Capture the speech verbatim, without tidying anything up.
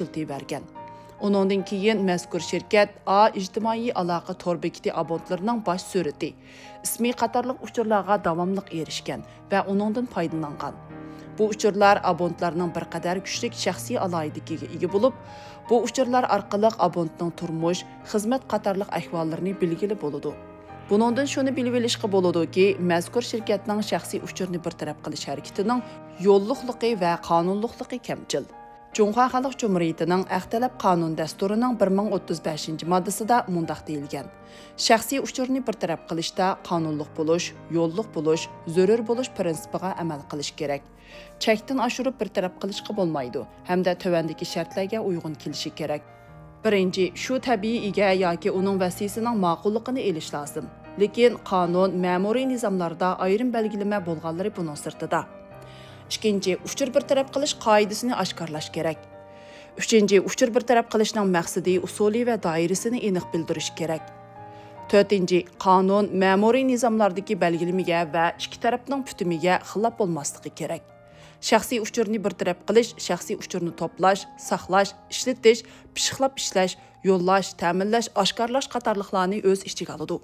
ئىشلىتىۋەرگەن. ئۇنىڭدىن كېيىن مەزكۇر شىركەت ئا ئىجتىمائىي ئالاقە تور بېكىتى ئابونتلىرىنىڭ باش سۈرىتى، ئىسمى قاتارلىق ئۇچۇرلارغا داۋاملىق ئېرىشكەن ۋە ئۇنىڭدىن پايدىلانغان. بۇ ئۇچۇرلار ئابونتلارنىڭ بىر قەدەر كۈچلۈك شەخسىي ئالاھىدىلىكىگە ئىگە بولۇپ، بۇ ئۇچۇرلار ئارقىلىق ئابونتنىڭ تۇرمۇش، خىزمەت قاتارلىق ئەھۋاللىرىنى بىلگىلى بولىدۇ. بۇنىڭدىن شۇنى بىلىۋېلىشقا بولىدۇكى، مەزكۇر شىركەتنىڭ شەخسىي ئۇچۇرنى بىر تەرەپ قىلىش ھەرىكىتىنىڭ يوللۇقلۇقى ۋە قانۇنلۇقلۇقى كەمچىل. جۇڭخۇا خەلق جۇمھۇرىيىتىنىڭ ئەخ تەلەپ قانۇن دەستۇرىنىڭ بىر مىڭ ئوتتۇز بەشىنچى ماددىسىدا مۇنداق دېيىلگەن: شەخسىي ئۇچۇرنى بىر تەرەپ قىلىشتا قانۇنلۇق بولۇش، يوللۇق بولۇش، زۆرۈر بولۇش پىرىنسىپىغا ئەمەل قىلىش كېرەك. چەكتىن ئاشۇرۇپ بىر تەرەپ قىلىشقا بولمايدۇ ھەمدە تۆۋەندىكى شەرتلەرگە ئۇيغۇن كېلىشى كېرەك. بىرىنچى، شۇ تەبىئىي ئىگە ياكى ئۇنىڭ ۋەسىسىنىڭ ماقۇللۇقىنى ئېلىش لازىم. لېكىن قانۇن، مەمۇرىي نىزاملاردا ئايرىم بەلگىلىمە بولغانلىرى بۇنىڭ سىرتىدا. ئىككىنچى، ئۇچۇر بىر تەرەپ قىلىش قائىدىسىنى ئاشكارىلاش كېرەك. ئۈچىنچى، ئۇچۇر بىر تەرەپ قىلىشنىڭ مەقسىتى، ئۇسۇلى ۋە دائىرىسىنى ئېنىق بىلدۈرۈش كېرەك. تۆتىنچى، قانۇن، مەمۇرىي نىزاملاردىكى بەلگىلىمىگە ۋە ئىككى تەرەپنىڭ پۈتۈمىگە خىلاپ بولماسلىقى كېرەك. شەخسىي ئۇچۇرنى بىر تەرەپ قىلىش شەخسىي ئۇچۇرنى توپلاش، ساقلاش، ئىشلىتىش، پىششىقلاپ ئىشلەش، يوللاش، تەمىنلەش، ئاشكارىلاش قاتارلىقلارنى ئۆز ئىچىگە ئالىدۇ.